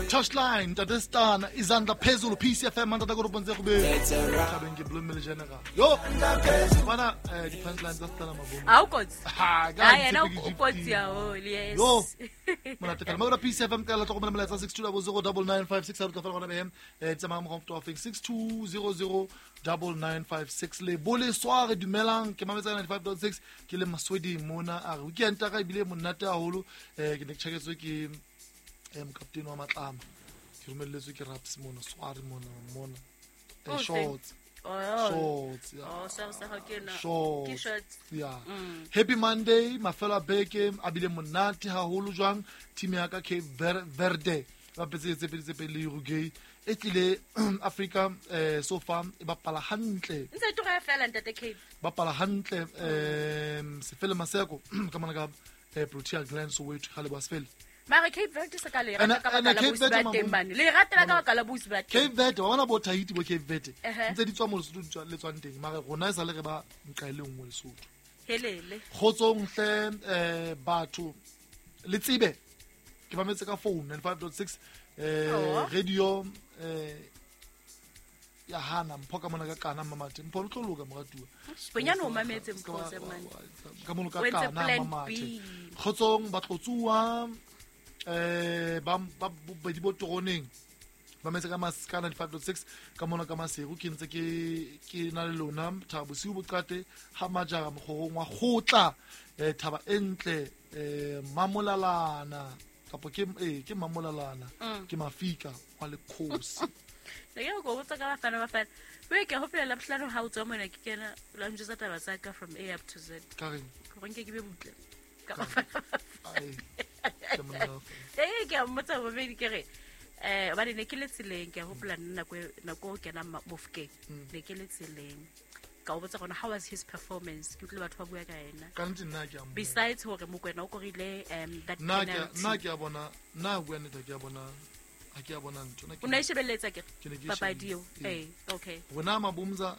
Touchline ntate Stana izandla phezulu PCFM mantata ko ropontse go be thabeng ke Bloom le General yo bana di punchline tsa Stana Mabomo a o kotsi ha a yena o kotsi haholo yes yo monate fela mabura PCFM ka la tlhokomela molaetsa 62009956 ha re tlo fela gona behem tsamaya mo go feng 62009956 le bole soare dumelang ke mametsa 95.6 ke le Maswedi mona a re weekend ka ebile monate haholo ke ne ke tjhaketswe ke mokaptene wa Matlama ke romelletswe ke Raps mona sware mona mona Oh, shorts Oh. shorts yeah. Oh, sa sa ga ke na. Shorts. Ke shorts. Yeah. Happy Monday, mafelo a beke a bile monate haholo jwang team ya ka Cape Verde ba bapetse tse pedi tse pedi le Uruguay e tlile Africa so far e bapala hantle Ntse tloga fela ntate Cape. bapala hantle Sefele Maseko ka mona ka Protea Glen Soweto ga le ba Sefele Mara Cape Verde se ka le rata ka Ene baka la Cape bosi Verde ba teng Mabomo. bane. Le ratela ka baka la bosi ba teng. Cape Verde wa bona bo Tahiti bo Cape Verde Ehe. ntse di tswa mo Lesotho di tswa le tswang teng mara rona e sa le re ba nqa e le nngwe Lesotho Helele. kgotsong hle batho le tsebe ke mametse ka phone 95.6 Oh. radio ya hana mpho ka mona ka kana mamate mpho lo tlo loka moratuwa Bonyane o mametse mpho se man. ka mono ka O entse kana plan mamate B. kgotsong batlotsuwa ba ba bobedi bo toroneng ba metse ka mas ka 95.6 ka mona ka Maseru ke ntse ke na le lona thaba bosiu boqate ha majara mokgorong wa kgotla thaba e ntle mamolalana kapo ke ke mamolalana ke mafika wa lekgosi Ne ke go botsa ka bafana bafana. We ke hopola la bohlano ha o tswa mona ke kena la njwetsa taba tsa ka from A up to Z. ka reng Gore nke ke be butle. Ka bafana. ai ke monna Ee ke a mmotsa bobedi ke re hobane ne ke le tseleng ke a hopola nna nako nako o kenang Mofokeng ne ke le tseleng ka o botsa gona how was his performance ke utlwile batho ba bua ka ena ka nnete nna ke a mmona. besides hore Mokoena o korile that nna ke nna penalty ke a bona nna bua nnete ha ke a bona ha ke a bona ntho nna ke o ne e shebelletsa ke Ke ne ke e papadi eo shebile, ee okay rona Mabomza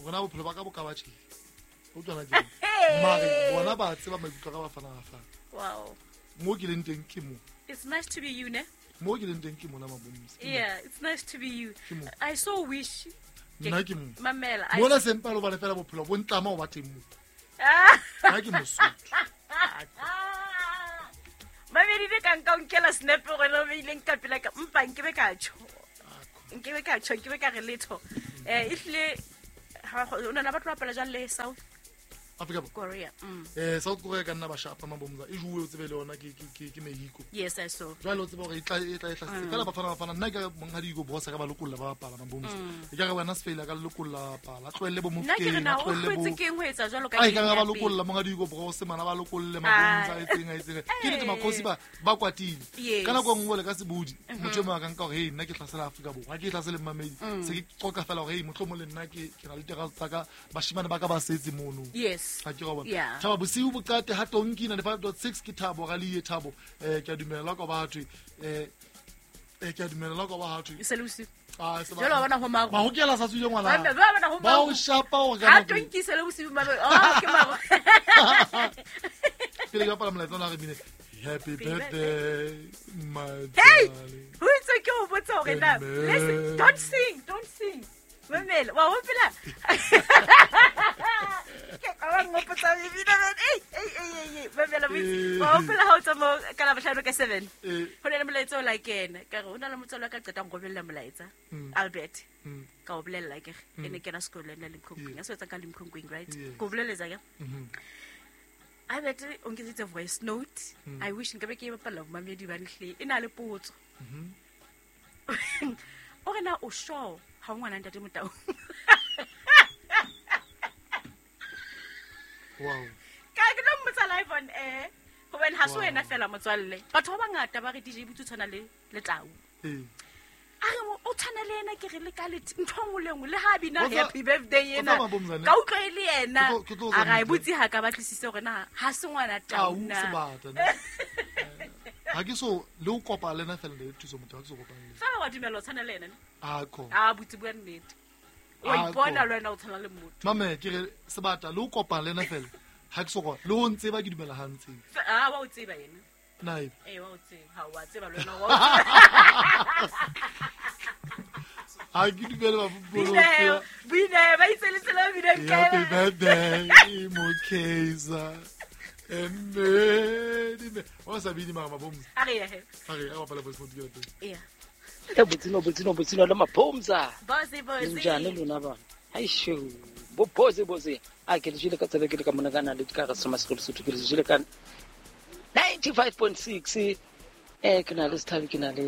rona bophelo ba ka bo ka ba tjhe o utlwana ke mare bona ba tseba maikutlo a ka Bafana Bafana wow mo ke leng teng ke mo it's nice to be you ne mo ke leng teng ke mona Mabomza yeah it's nice to be you Ke mo. I so wish Nna ke mo. mamela I- mona sempa lo bane fela bophelo bo ntlama ho ba teng mo Ah! nna ke Mosotho mamedi ne ka nka o nkela snap gona o beileng ka pela ka mpa nkebe ka tjho nkebe ka tjho nkebe ka re letho ehlile o nana ba tlo bapala jwang le South Afrika Borwa Korea South Korea ka nna ba shapa Mabomza e juwe o tsebe le yona ke Mexico yes I saw jwale o tseba hore e tla e tla e hlasetse fela Bafana Bafana nna ke monghadi Hugo Broos a ka ba lokolla ba bapala Mabomza e ka re wena Sefele a ka lokolla bapala a tlohelle bo nna ke re Mofokeng na a o tlohelle bo hwetse keng ho etsa jwalo ka a e ka game ba ya pele? lokolla monghadi Hugo Broos mana ba lokolle Mabomza a etseng a etseng ke nnete makgosi ba kwatile Yes. ka nako e nngwe le ka sebodi motho e mongwe a ka nka hore hey nna ke hlasela Afrika Borwa ha ke hlasele mmamedi se ke qoqa fela hore hey mohlomong le nna ke na le terase tsa ka bashimane ba ka ba setse mono yes ha ke ra bona Yeah. thaba bosiu boqate ha tonki 95.6 ke Thabo Ralie Thabo ke a dumela ka ba thwe ke a dumela ka ba thwe E se le bosiu ah se ba Jwale wa bona ho maru. mahokela sa tswile ngwana Ba- ba bona ho ba o maru. shapa hore ka ha nako e. tonki se le bosiu mame oh ke maru pele ke bapala molaetsa ona re bine happy birthday my Hey! darling ho itse ke o botsa hore na Amen. listen don't sing don't sing mamela wa hopola ke ka ba ngopotsa bebile man ei ei ei ei ei mamela Eh. wa hopola ha o tsamaya ka labohlano ka 7 Eh. ho na le molaetsa o la kena ka re ho na le motswalo wa ka qetang go bolella molaetsa Albert ka o bolella ke re e ne kena sekolo le nna Limkokwing Yeah. a sebetsang ka Limkokwing right Yes. ko boleletsa ke Albert o nketseditse voice note I wish nkabe ke e bapalla bomamedi ba nhle e na le potso o re na o sure ha o ngwana ntate Motau wow ka ke tlo mmotsa live on air hobane ha se Wow. wena fela motswalle batho ba bangata ba re DJ Botse o tshwana le letau eh a re o tshwana le ena ke re le ka ntho e nngwe le nngwe le ha bina O tsa- happy birthday o ena tsa Mabomzane? ka utlwa e le yena Ke tlo a ra e tsa botse ha ka batlisise hore na ha se ngwana tau tau na sebata ne. Ha ke so le o kopa le nna fela le thuso motho ha ke so kopane le fela wa dumela o tshwana le ena ne a ko a botse bua nnete o Ah, ipona ko. le wena o tshwana le motho mame ke re sebata le o kopana le nna fela ha ke so kopa le ho ntseba ke dumela ha ntseba a wa o tseba yena na ebe ee wa o tseba ha wa tseba le wena wa o tseba. Ha ke dumele ba Bina ba itse le tsela bina ka. Happy birthday Mokeza. Emme o sa bini mara mabomza. A re he. A re a bapala voice note ke teng. Yeah. E botsino le mabomza. Bozi. Njani lona bana? Haisho. Bo bozi. A ke le jile ka tsebe ke le ka mona kana le ka re soma sekolo sotho ke le jile ka 95.6 ke na le Sethabi ke na le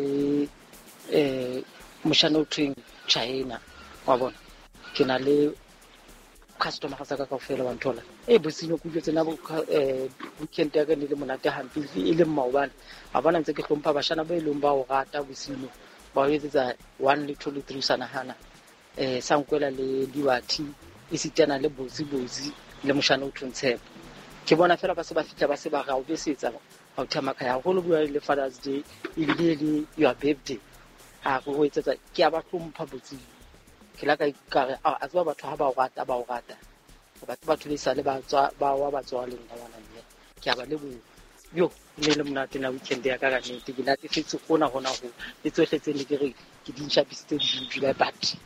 moshana o thweng China wa bona ke na le customer ga saka kaofela wa nthola botsino ku jetse na weekend ya ka ne le monate hampe e le maobane a bona ntse ke hlompha bashana ba ileng ba o rata botsino ba o etsetsa 1 le 2 le 3 sana hana sankwela le diwathi e sitana le bozi le moshana o thweng Tshepo ke bona fela ba se ba fitla ba se ba ga o besetsa ha o thama ka ya holo bua le Father's Day ebile le your birthday a go etsetsa ke a ba hlompha botsino ke la ka re a tseba batho ha ba o rata batho le sale ba tswa ba wa ba tswa le nna ngwana mme ke a ba leboha yo ne le monate na weekend ya ka ka nnete ke natefetse hona ho le tsohle tse ne ke re ke di ntjhapisitse di dula but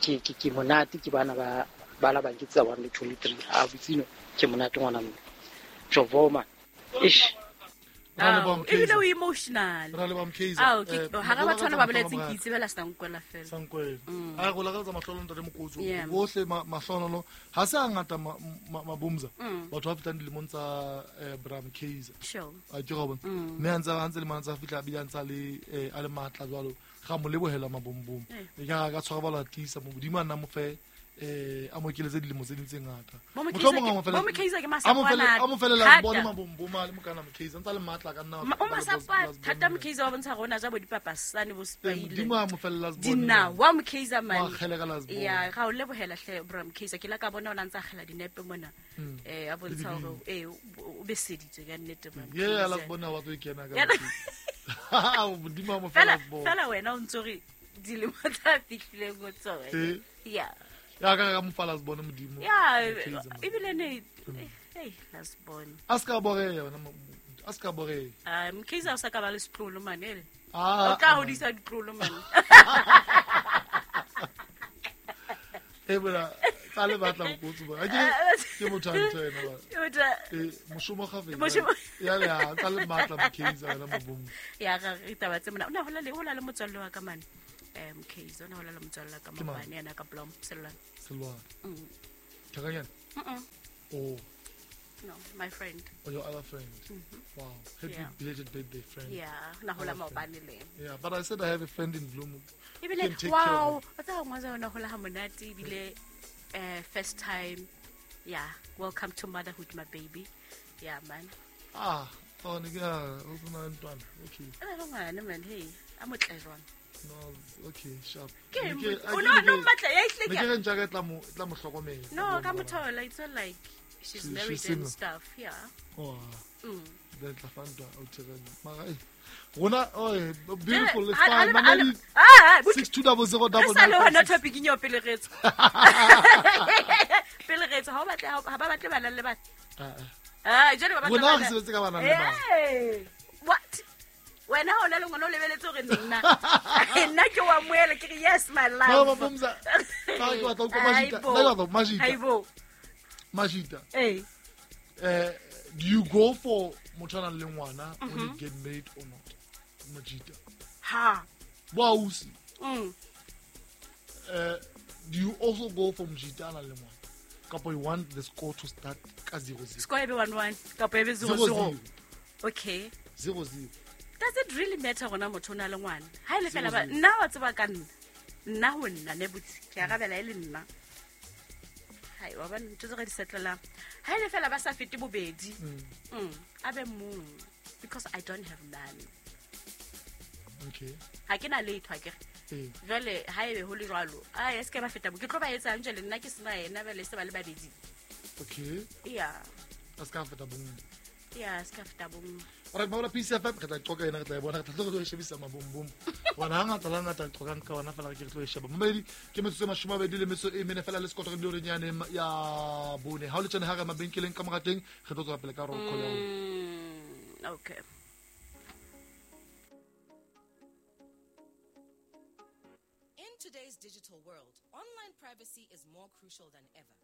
ke monate ke bana ba la ba ke tsa 1 le 2 le 3 a botsino ke monate ngwana mme Jovoma ish ebile o emotional ra le ba Mkhize ha ga batho ba boletseng ke itsebela Sankwela fela Sankwela a go lakaletsa mahlolo ntate Mokotso bohle mahlonolo ha se a ngata mabomza batho ba fetang dilemong tsa Bra Mkhize a ke go bona mme a ntse le mantsha fitla bile a ntse le a le matla jwalo ga mo lebohela mabombom e ka ka tshwara ba la tisa mo modimo a nna mo fe a mo keletse dilemo tse ding tse ngata bo Mkhize ke masapana a mo felela bona mabomboma le mokana Mkhize ntse le matla ka nna o masapa thata Mkhize wa bontsha rona ja bo dipapasane bo spaile modimo a mo felela dina wa Mkhize man wa kgele ka last ya ga o lebohela hle bra Mkhize ke la ka bona o ntse a kgela dinepe mona a bontsha hore o beseditswe ka nnete man ye la bona wa tlo ikena ka modimo a mo felela fela wena o ntse re dilemo tsa fihlileng go tsona ya ya ka mo fala sibone modimo ya ebile ne hey last born a ska boreya wena a ska boreya Mkhize o sa ka ba le setlolo manele o tla hodisa ditlolo man e bora tsa le batla Mokotso ba ke motho a ntho ena ba moshomo ga ya ya tsa le matla Mkhize wena mabomo ya ga re taba tse mona o na hola le motswalle wa ka man Mkhize o na hola le motswalle ka mabane yana ka Blom Selwane Thakanyana oh no my friend or your other friend. Wow, happy belated birthday friend. Yeah na hola maobane le yeah but I said I have a friend in Bloom. Ebile wow o tsa ngwaza ona hola ha monate ebile first time yeah welcome to motherhood my baby yeah man oh nigga o tsena ntwana okay ena ngwana man hey a motle jwang. No, okay, sharp. No matla ya ihle ke. Ke ntja ka tla mo hlokomela. No, ka mothola it's not like she's married and stuff, yeah. Oh. Then tla fanda o tsere. Mara rona oh beautiful it's fine. Mamedi 620099. Sa le hona topic eng yo pele re tswa. Pele re tswa ha ba batle ha ba batle bana le bana. Jwale ba batla. Rona re sebetse ka bana le bana. What? Wena o na le ngwana o lebeletse hore nna nna ke wa moela ke re yes my love no mabomza ba ke batla go majita nna ke majita haibo majita do you go for motho a nang le ngwana when you get married or not majita ha wa usi do you also go for mojita a nang le ngwana kapa you want the score to start ka 0-0 score e be 1-1 kapa e be 0-0 okay 0-0. Does it really matter gona motho o na le ngwana ha ile fela ba nna wa tseba ka nna nna ho nna ne botse ke arabela e le nna hai wa ba ntho tse re di setlelang ha ile fela ba sa fete bobedi a be mong because I don't have none. Okay ha ke na letho ha ke re jwale ha ebe ho le jwalo a se ke ba feta bo ke tlo ba etsang jwale nna ke sena yena ba le se ba le babedi. Okay yeah a se ka feta bong yeah se ka feta bong. Ora ba la PCF re tla qoka ena re tla e bona re tla tlo shebisa mabombom bona ha ngata la ngata qoka ka ona fela ke re tlo e sheba mamedi ke metsotso e 24 fela le sekotoro le renyane ya bone ha o le tsene ha re mabenkeleng ka morateng re tlo tswa pele ka roll call ya okay. today's digital world, online privacy is more crucial than ever.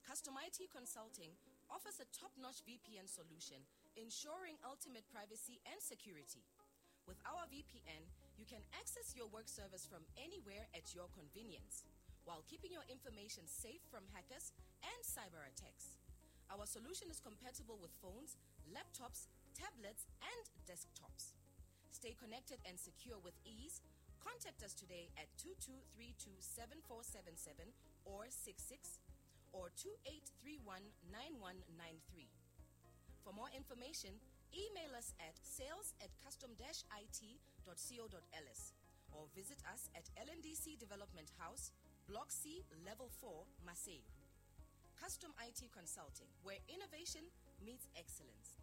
Custom IT Consulting offers a top notch VPN solution ensuring ultimate privacy and security. With our VPN, you can access your work servers from anywhere at your convenience while keeping your information safe from hackers and cyber attacks. Our solution is compatible with phones, laptops, tablets, and desktops. Stay connected and secure with ease. Contact us today at 2232 7477 or 66 or 2831 9193. For more information, email us at sales at custom it.co.ls or visit us at LNDC Development House, Block C, Level 4, Maseru. Custom IT Consulting, where innovation meets excellence.